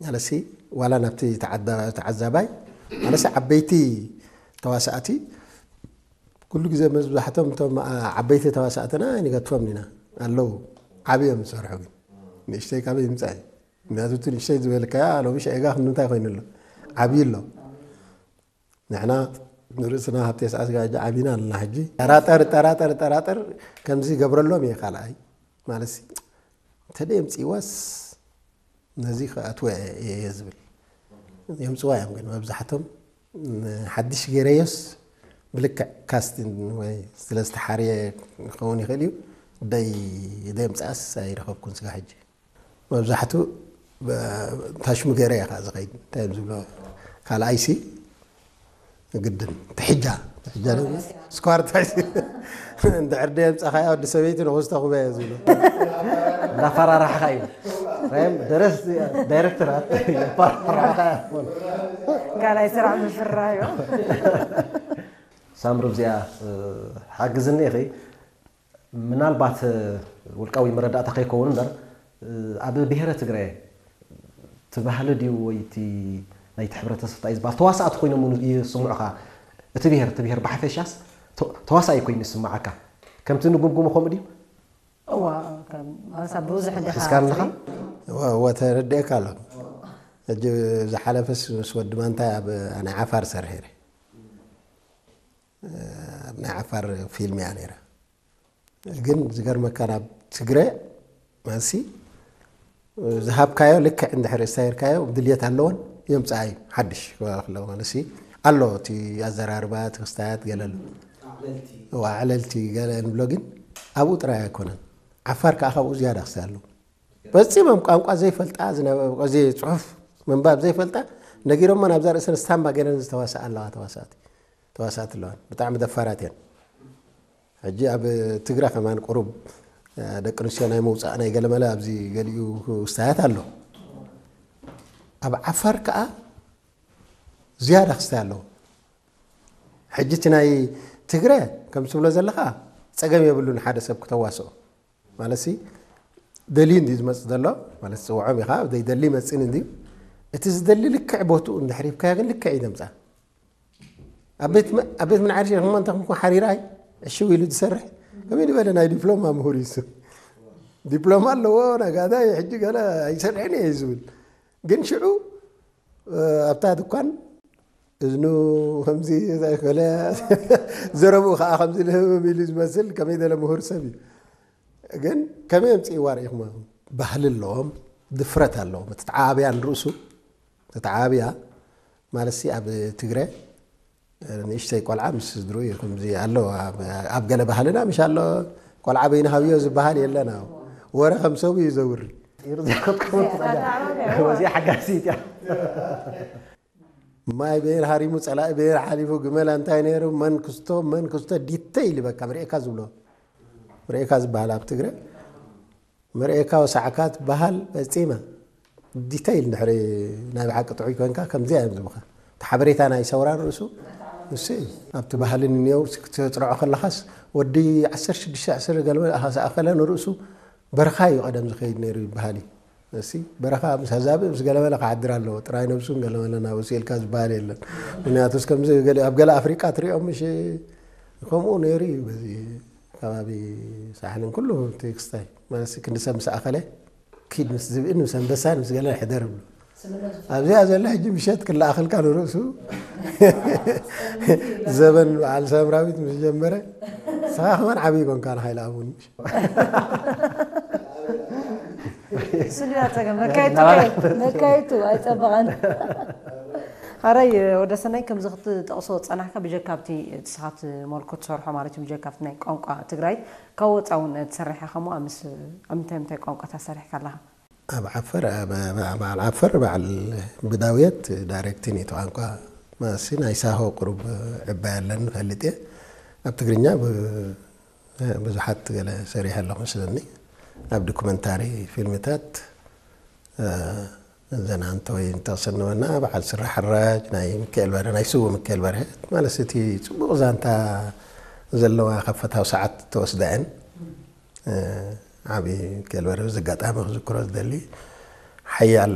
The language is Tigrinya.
ማለሲ ዋላ ናብቲ ተዓዛባይ ማለሲ ዓበይቲ ተዋሳእቲ ኩሉ ግዜ መብዛሕቶም እቶም ዓበይቲ ተዋሳእትና ኣይንገድፎም ኢና ኣለዉ። ዓብዮም ዝሰርሑ ግን ንእሽተይ ካበይ ይምፃእ እዩ? ምክንያቱ እቲ ንእሽተይ ዝበልካያ ሎሚ ሸዒጋ ክንምንታይ ኮይኑ ኣሎ? ዓብዩ ኣሎ። ንሕና ንርእስና ሃብቲ የስዓስ ጋጃ ዓቢና ኣለና። ሕጂ ጠራጠር ጠራጠር ጠራጠር ከምዚ ይገብረሎም እየ። ካልኣይ ማለት ሲ እንተደ የምፅእዋስ ነዚ ክኣትወ እየ ዝብል። የምፅዋ እዮም ግን መብዛሕቶም ሓድሽ ገይረዮስ ብልክዕ ካስቲን ወይ ስለ ዝተሓርየ ክኸውን ይኽእል እዩ። ደይ ደይ ምፅኣስ ኣይረኸብኩን ስጋ ሕጂ መብዛሕቱ ታሽሙ ገይረ እየ ከዓ ዝኸይድ እንታይ እዮም ዝብሎ ካልኣይሲ ግድን ትሕጃ ትሕጃ ስኳር ታይሲ እንድሕር ደየ ምፃኻያ ወዲ ሰበይቲ ንኹስተ ኩበያ ዝብሎ እንዳፈራራሕካ እዩ ደረስ ዳይሬክተራት የፈራራሕካ ካልኣይ ስራሕ ምፍራዮ ሳምሩ እዚኣ ሓግዝኒ ኢኺ ምናልባት ውልቃዊ መረዳእታ ከይከውን እምበር ኣብ ብሄረ ትግረ እቲ ባህሊ ድዩ ወይ እቲ ናይቲ ሕብረተሰብ እንታይ ዝበሃል ተዋሳእቲ ኮይኖም እውን ይስምዑኻ እቲ ብሄር እቲ ብሄር ብሓፈሻስ ተዋሳኢ ኮይኑ ይስምዓካ ከምቲ ንጉምጉሞ ከምኡ ድዩ እዋ ብዙሕ ዲኻ ሒዝካ ኣለኻ ወተረድኤካ ኣሎ ሕጂ ዝሓለፈስ ምስ ወዲ ማንታይ ኣብ ናይ ዓፋር ሰርሐ ኣብ ናይ ዓፋር ፊልም እያ ነይራ ግን ዝገርመካ ናብ ትግረ መልሲ ዝሃብካዮ ልክዕ እንድሕር ስታይርካዮ ድልየት ኣለዎን የምፅኣ እዩ ሓድሽ ክብለካ ኣለዎ መልሲ ኣሎ እቲ ኣዘራርባ እቲ ክስታያት ገለ ኣሎ ኣዕለልቲ ገለ ንብሎ ግን ኣብኡ ጥራይ ኣይኮነን ዓፋር ከዓ ካብኡ ዝያዳ ክስታይ ኣለዎ ፈፂሞም ቋንቋ ዘይፈልጣ ዝነበ ፅሑፍ ምንባብ ዘይፈልጣ ነጊሮሞ ናብዛ ርእሰን ስታምባ ገይረን ዝተዋስኣ ኣለዋ ተዋሳእቲ ተዋሳእቲ ኣለዋን ብጣዕሚ ደፋራት እየን ሕጂ ኣብ ትግረ ከማን ቁሩብ ደቂ ኣንስትዮ ናይ ምውፃእ ናይ ገለመለ ኣብዚ ገሊኡ ክስታያት ኣሎ ኣብ ዓፋር ከዓ ዝያዳ ክስታይ ኣለዎ ሕጂ እቲ ናይ ትግረ ከም ትብሎ ዘለካ ፀገም የብሉን ሓደ ሰብ ክተዋስኦ ማለት ደልዩ እንዲ ዝመፅእ ዘሎ ማለት ዝፅውዖም ኢኻ ዘይደሊ ይመፅን እንዲ እቲ ዝደሊ ልክዕ ቦትኡ እንድሕር ሂብካዮ ግን ልክዕ እዩ ዘምፅኣ ኣብ ቤት ምንዓርሽ ኢኹም እንተ ከምኩም ሓሪራይ ዕሽው ኢሉ ዝሰርሕ ከመይ ዝበለ ናይ ዲፕሎማ ምሁር እዩ ዲፕሎማ ኣለዎ ነጋዳይ ሕጂ ገለ ኣይሰርሕን እየ ዝብል ግን ሽዑ ኣብታ ድኳን እዝኑ ከምዚ ዘእከለ ዘረብኡ ከዓ ከምዚ ልህብም ኢሉ ዝመስል ከመይ ደለ ምሁር ሰብ እዩ ግን ከመይ ኣምፅእዋ ርኢኹም ባህሊ ኣለዎም ድፍረት ኣለዎም እቲ ተዓባብያ ንርእሱ እቲ ተዓባብያ ማለት ኣብ ትግረ ንእሽተይ ቆልዓ ምስ ስድሩ እዩ ከምዚ ኣሎ ኣብ ገለ ባህልና ምሽ ኣሎ ቆልዓ በይኑ ሃብዮ ዝበሃል የለና ወረ ከም ሰቡ እዩ ዘውሪ ወዚኣ ሓጋሲት እያ ማይ በየን ሃሪሙ ፀላኢ በየን ሓሊፉ ግመላ እንታይ ነይሩ መን ክስቶ መን ክስቶ ዲተይል በቃ ምርኤካ ዝብሎ ምርኤካ ዝበሃል ኣብ ትግረ ምርኤካ ወሳዕካ ትበሃል ፈፂመ ዲተይል እንድሕሪ ናይ ብሓቂ ጥዑይ ኮንካ ከምዚ እዮም ዝብኻ እቲ ሓበሬታ ናይ ሰውራ ንርእሱ ንሱ እዩ ኣብቲ ባህሊ ንኔው ክትፅርዖ ከለኻስ ወዲ ዓሰርተ ሽዱሽተ ዕስር ገለ ዝኣኸለ ንርእሱ በረኻ እዩ ቀደም ዝኸይድ ነይሩ ይበሃል እዩ እሲ በረኻ ምስ ኣዛብእ ምስ ገለመለ ክዓድር ኣለዎ ጥራይ ነብሱን ገለመለ ናብ እሱ ኢልካ ዝበሃል የለን ምክንያቱስ ከምዚ ገለ ኣብ ገለ ኣፍሪቃ ትሪኦም ምሽ ከምኡ ነይሩ እዩ በዚ ከባቢ ሳሕልን ኩሉ እቲ ክስታይ ማለት ክንዲ ሰብ ምስ ኣኸለ ኪድ ምስ ዝብእን ምስ ኣንበሳን ምስ ገለ ሕደር ይብሉ ኣብዚኣ ዘሎ ሕጂ ምሸት ክለኣኸልካ ንርእሱ ዘበን በዓል ሳምራዊት ምስ ጀመረ ስኻ ከማን ዓብዪ ኮንካ ንሓይል ኣቡን ስሉያ ፀገም መካየቱ መካየቱ ኣይፀበቐን ሓራይ ወደ ሰናይ ከምዚ ክትጠቕሶ ዝፀናሕካ ብጀካ ኣብቲ ንስኻ ትመልኮ ትሰርሖ ማለት እዩ ብጀካ ኣብቲ ናይ ቋንቋ ትግራይ ካብ ወፃ እውን ትሰርሕ ኢኻ እሞ ኣብ ምንታይ ምንታይ ቋንቋታት ሰሪሕካ ኣለኻ ኣብ ዓፈር በዓል ዓፈር በዓል ብዳውየት ዳይሬክቲን እቲ ቋንቋ ማሲ ናይ ሳሆ ቁሩብ ዕባይ ኣለኒ ፈልጥ እየ ኣብ ትግርኛ ብዙሓት ገለ ሰሪሐ ኣለኹ መስለኒ ኣብ ዶኩመንታሪ ፊልምታት ዘናንተ ወይ እንተቕስንበና በዓል ስራሕ ሕራጅ ናይ ምክኤል በረ ናይ ስዉ ምክኤል በረ ማለት እቲ ፅቡቕ ዛንታ ዘለዋ ከፈታዊ ሰዓት ተወስዳ እየን ዓብዪ ምክኤል በረ እዚ ኣጋጣሚ ክዝክሮ ዝደሊ ሓያል